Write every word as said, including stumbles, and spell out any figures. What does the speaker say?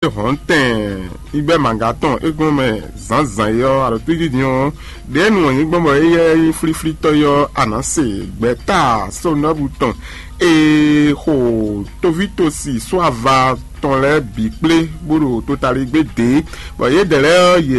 hɔ̌ntɛn igbɛ́ mǎga tɔn é gɔ́n mɛ zǎnzǎn é ɔ́, aɖɔ̌túndídin ɔ́, ɖěe nu wɔ̌nyí gbɔn bɔ éyɛ́ nyí flíflítɔ́ é ɔ́, a nǎ se gbɛ̌ta sónɔ́bú tɔn e xo tovítosi só ava tɔn lɛ́ɛ bǐ kplé bó ɖo totaligbé dě, bɔ yědɛɛ lɛ́ɛ ɔ́, yě